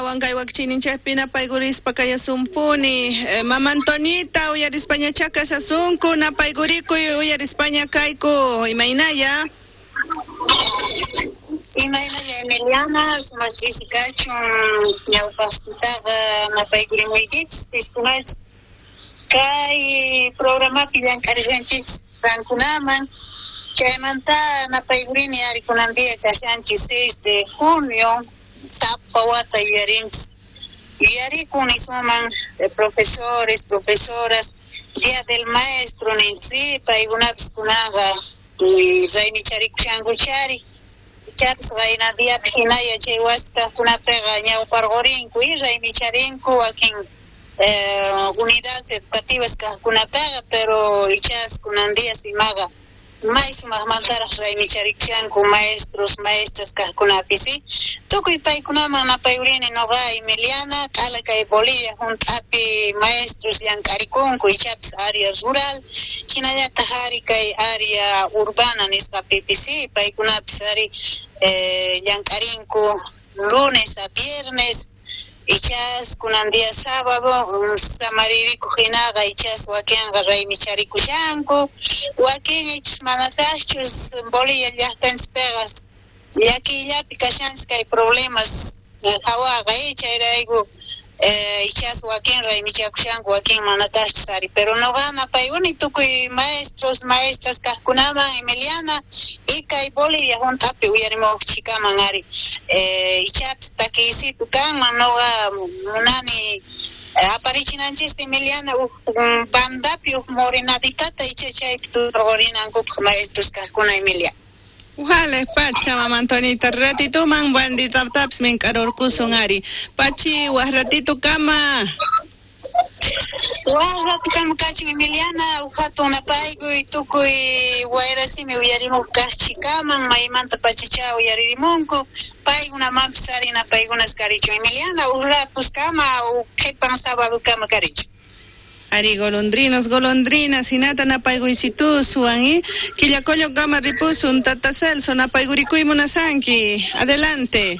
Astawan kay wakchiyninchikpi napaykurispa kayasumpuni. Mama Antonita uyarispañachá kashasunku, napaykurikuy uyarispaña kayku. Imaynaya? Imaynalla Emiliana, sumaq ch'isi kachun ñawpaqtaqa napaykurimuykichis, piskunachis kay programapi llank'arishankichis qankunaman. Chaymanta napaykurini ari kunan día kashanchis 6 de junio, sapa wata yuyarinchis. Yuyarikun nisuman profesores, profesoras, Día del Maestro ninchis, paykunapis kunanqa raymicharikushanku chari. Ichapis qayna diapi hinaya chay wasi kaqkunapiqa ñawparqurinku y raymicharinku wakin unidades educativas kaqkunapiqa, pero ichas kunan días imaqa may sumaqmantaraq raymicharichanku maestros, maestras kaqkunapis, ¿sí? Tukuy paykunaman napayurini noqa Emiliana, q'ala kay Bolivia hunt'api maestros llank'arikunku, ichapis área rural, hinallataq ari kay área urbana nisqapipis, ¿sí? Paykunapis ari llank'arinku lunes a viernes, ichas kunan día sábado samaririkuq hinaqa ichas wakinqa raymicharicushanku, wakin ichas manataqchus. Bolivia llaqtanchispiqa llakiyllapi kashanchis kay problemas hawaqa, chayrayku ichas wakin raymichakushanku, wakin manataqchus ari. Pero noqa napaykuni tukuy maestros, maestras kaqkunaman, Emiliana, y kay Bolivia hunt'api uyarimuqchikaman ari. Ichapis takiysitu kanman, noqa munani aparichinanchista Emiliana huk bandapi huk morenaditata icha chaypi turqurinankupaq maestros kaqkuna, Emilia. Wale pacha, mama Antonita, ratituman banditapis mink'arurqusun ari. Pachi, waj ratito kama. Waj rato kama kachun Emiliana, huk hatun napaykuy tukuy wayrasimi uyarimuq kaqchikaman, maymanta pachacha uyaririmunku, paykunamanpis ari napaykunas karichun Emiliana, huk ratos kama, huk qhipan sábado kama karichun. Ari, golondrinos, golondrinas, hinata napaykuysituswan, y Quillacollo kama ripusun, Tata Celso, napaykurikuy munasanki. Adelante.